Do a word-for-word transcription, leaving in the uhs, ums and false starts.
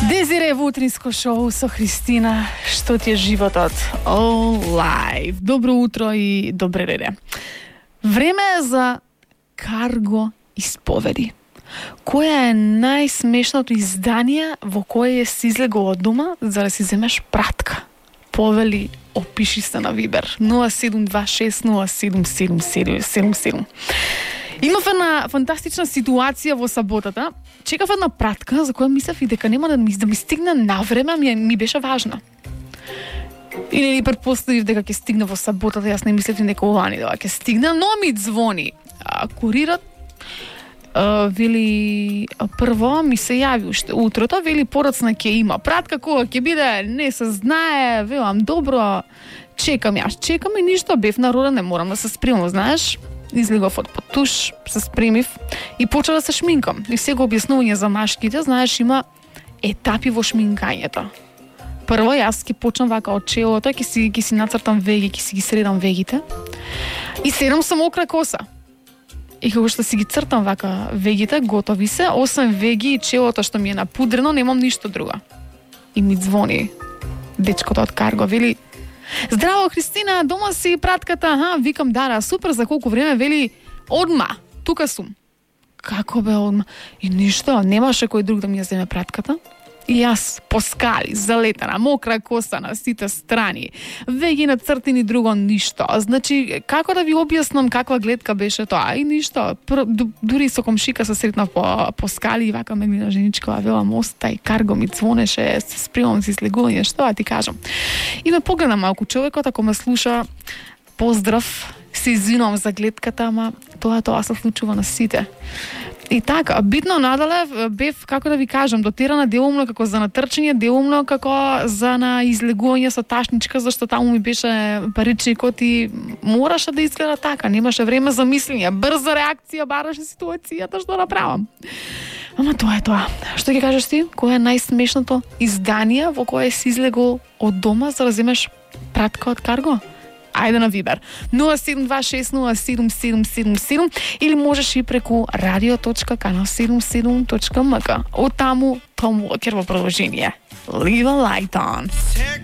Дезире во утринско шоу со Христина. Што ти е животот? All live. Добро утро и добре реде. Време е за карго исповеди. Која е најсмешното издание во кое си излегол од дома за да си земеш пратка? Повели, опиши се на Вибер нула седум два шест нула седум седум седум седум. Имав една фантастична ситуација во саботата. Чекав една пратка за која мислев и дека нема да ми, да ми стигне на време, ми, ми беше важна. И не ни предпоставив дека ќе стигне во саботата, јас не мислев дека ова ни дека ќе стигне, но ми звони а, курират. Uh, вели, прво ми се јави уште утрото, вели порацна ќе има пратка, кога ќе биде, не се знае, велам добро, чекам јас, чекам и ништо, бев народа, не морам да се спремам, знаеш, излегов од потуш, се спремив и почна да се шминкам. И сега објаснување за машките, знаеш, има етапи во шминкањето. Прво јас ќе почнам вака од челото, ќе си, ќе си нацртам веги, ќе си ги средам вегите и седам со мокра коса. И кога што си ги цртам вака вегите, готови се, освен веги и челото што ми е напудрено, немам ништо друго. И ми звони дечкото од карго, вели: "Здраво, Христина, дома си пратката?" Аха, викам: "Да, супер, за колку време?" Вели: "Одма, тука сум." Како бе одма? И ништо, немаше кој друг да ми ја земе пратката. И јас по скали, залетана, мокра коса на сите страни, веги на цртини, друго ништо. Значи, како да ви објаснам каква гледка беше тоа? И ништо. Пр, дури со комшика се сретнав по, по скали и вака ме гледа женичка, вела: "Мостај, карго ми звонеше, се спремам за излегување, што да ти кажам?" И ме погледа малку човекот, ако ме слуша, поздрав, се извинувам за гледката, ама тоа тоа се случува на сите. И така, битно надале бев, како да ви кажам, дотерана делумно како за натрчање, делумно како за на излегување со ташничка, зашто таму ми беше паричникот и мораше да изгледа така, немаше време за мислење, брза реакција бараше ситуацијата, што направам. Ама тоа е тоа. Што ќе кажеш ти? Кој е најсмешното издание во кое си излегол од дома за да земеш пратка од карго? Ајде на Вибер нула седум два шест нула седум седум седум седум или можеш и преку радио точка канал седумдесет и седум точка ем ка. Од таму Том Уокер во продолжение. Leave a light on.